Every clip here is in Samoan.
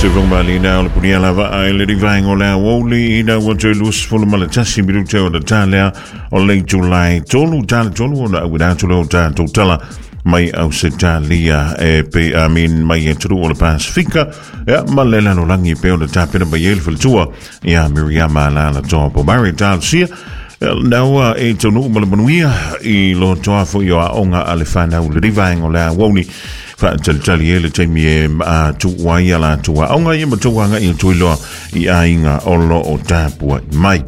Se fongmalina o le punia lava ai le rivaenga o le aoauli ina ua toe 21 minute o le talea o le Julai 3 tala 3 ona auina atu lea o tatou tala mai Ausetalia e pe amin mai e tulu o le Pasifika ia ma le lalolagi pe o le tapena mai ai le faletua ia Miriama Lala Toa Pomari talosia naua e taunuu ma le manuia i lo toa foi o aoga a le fanau le rivaenga o le aoauli faatalitali ai le taimi e tuu ai a latou aoga ia ma tou agai atu ai loa i aiga o lo o tapuai mai.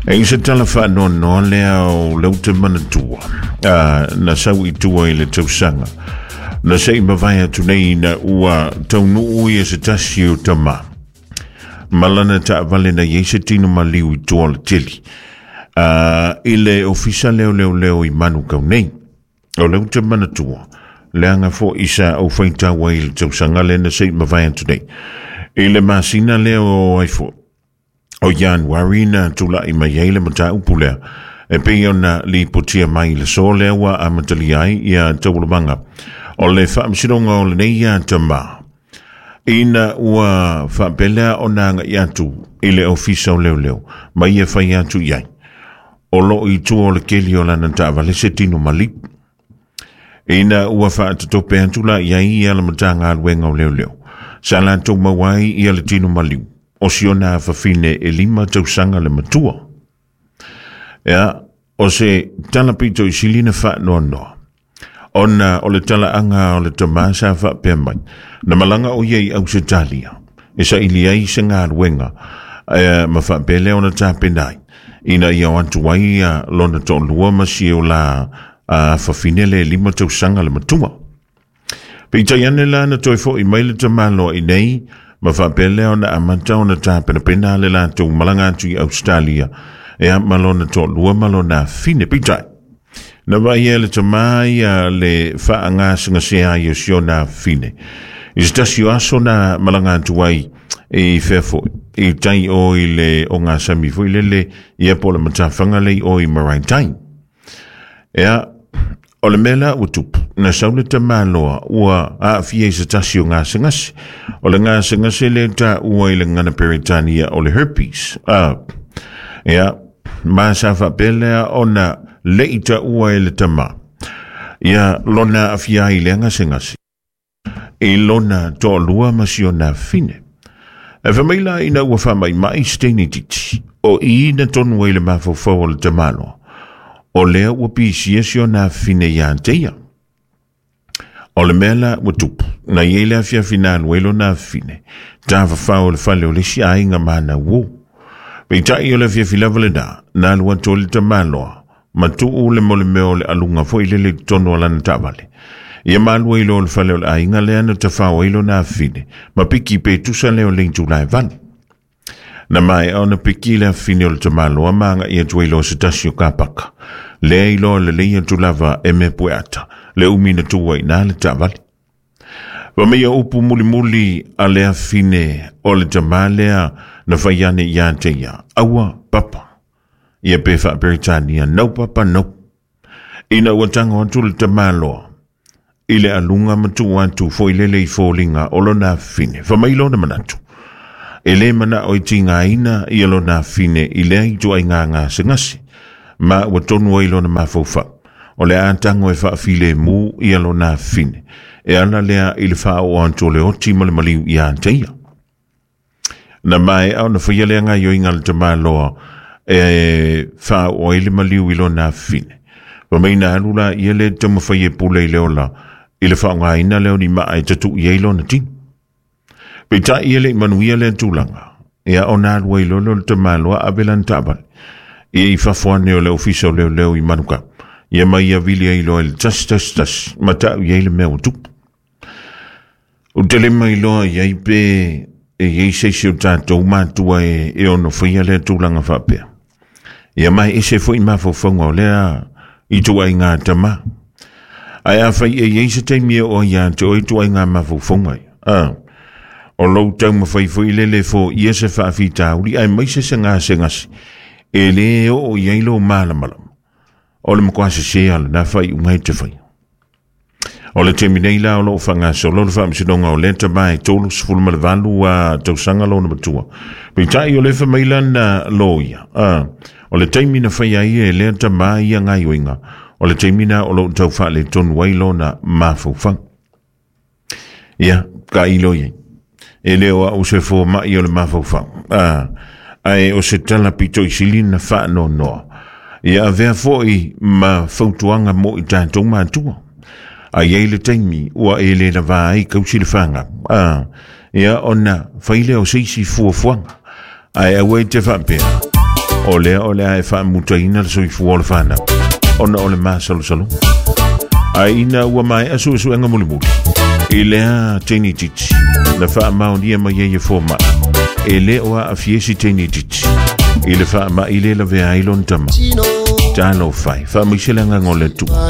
E i se tala faanoanoa lea o le ute manatua na sau i tua i le tausaga na se i mavae atu nei ina ua taunuu ia se tasi o tama ma lana taavale na i ai se tino maliu i tua o le tele i le ofisa leoleoleo i Manukau nei. O le ute manatua leaga foi sa ou faitau ai i le tausaga lea na se i mavae atu nei. I le masina lea o ai foi o Ianuari na tula'i mai ai le mataupu lea e pei ona lipotia mai i le aso lea ua amatalia ai ia taualumaga o le faamasinoga o lenei ia tama ina ua faapea lea ona agai atu i le ofisa o leoleo ma ia fai atu i ai o loo i tua o le keli o lana taavale se tino maliu. Ina ua faatatope atu la i ai ia le Matagaluega o Leoleo, sa latou maua ai ia le tino maliu o si ona afafine e 5 tausaga le matua. Ia, o se tala pito i sili na faanoanoa, ona o le talaaga o le tama sa faapea mai, na malaga o ia i Ausetalia, e saili ai se galuega, ma faapea lea ona tapena ai, ina ia o atu ai lona toalua ma si o la afafine le 5 tausaga le matua. Peitai ane la na toe foi mai le tamaloa i nei, ma faapea lea ona amata ona tapenapena le latou malaga atu i Australia, e ma lona toalua ma lona afine. Peitai, na vaai le tama ia le faagasegasea ai o si ona afine. I se tasi o aso na malaga atu ai i fea foi, i tai o i le o ngā sami foi lele, ia po le matawhanga lei o i Maraitai. Ea, o le mea la ua tupu, na sau le tamaloa ua aafia i se tasi o gasegase. O le gasegase lea taua i le gagana Peretania o le herpes. Ea, ma sa faapea lea ona lei taua e le tama. Ia lona aafia ai lea gasegase. I lona toalua ma si ona afine. E fai mai la ina ua faamaimai se teine titi, o i na tonu ai le mafaufau o le tamaloa, o lea ua pisia si ona afine ia te ia. O le mea la ua tupu, na i ai le afiafi na alu ai lona afine, tafafao o le fale o le isi aiga mana uo. Peitai o le afiafi lava lena, na alu atu ai le tamaloa, ma tuu le molemeo o le aluga foi lele i totonu o lana taavale. Ia malu ai loa o le fale o le aiga lea na tafao ai lona afine, ma piki pe tusa lea o le itula e 8. Na maea ona piki le afine o le tamaloa ma agai atu ai loa se tasi o kapaka. Lea i loa lelei atu lava e mea pueata, le umi na tuu ai na le taavale. Fa mai o upu mulimuli a le afine o le tama lea na fai ane ia te ia, aua papa. Ia pe faa-Peretania, no papa, no. Ina ua tango atu le tamaloa i le aluga ma tuu atu foi lele i foliga o lona afine. Fa mai lona manatu, e le manao i tigaina ia lona afine i lea ituaiga gasegase, ma ua tonu ai lona mafaufau. O le a tango e faafilemu ia lona afine, e ala lea i le faaoo atu o le oti ma le maliu ia te ia. Na maea ona faia lea gaioiga a le tamaloa e faaoo ai le maliu i lona afine. Fa mai na alu la ia le taumafai e pule i le ola i le faaaogaina lea o ni maa e tatu'i ai lona tino. Peitai ia le i manuia lea tulaga, ia ona alu ai loa lea o le tamaloa ave lana taavale ia i fafo ane o le ofisa o leoleo i Manukau, ia ma ia vili ai loa i le 111 ma ta'u i ai le mea ua tupu. U te le mailoa i ai pe e i ai se isi o tatou matua e ono faia lea tulaga faapea. Ia mai ese foi mafaufauga o lea ituaiga tama. Ae afai e i ai se taimi e oo ai ia te oe ituaiga mafaufauga ia, o lou taumafai foi lele foia se faafitauli aemaise se gasegase e lē oo i ai lou malamalama. O le matua sesē a lena faaiuga e te faia. O le taimi nei la o loo faagasolo le faamasinoga o lea tamā e 38 tausaga lona matua. Peitai o le fai mai lana loia, o le taimi na faia ai e lea tamā ia gaioiga, o le taimi na o loo tau faaletonu ai lona mafaufau. Ia, tailo i ai. E le o au se fomai o le mafaufau. Ae o se tala pito i sili na faanoanoa. Ia avea foi ma fautuaga mo i tatou matua. A iai le taimi ua e le lavā ai kausi le fanau. Ia ona fai lea o se isi fuafuaga. Ae aua e te faapea, o lea o le a e faamutaina le soifua o le fanau, ona o le masalosaloga. Ae ina ua maea suesuega mulimuli, i lea teine itiiti, na faamaonia mai ai e fomai, e le o aafia si teine itiiti, i le faamai le lavea ai lona tama. Talofa e, faamaise le agaga o le Atua.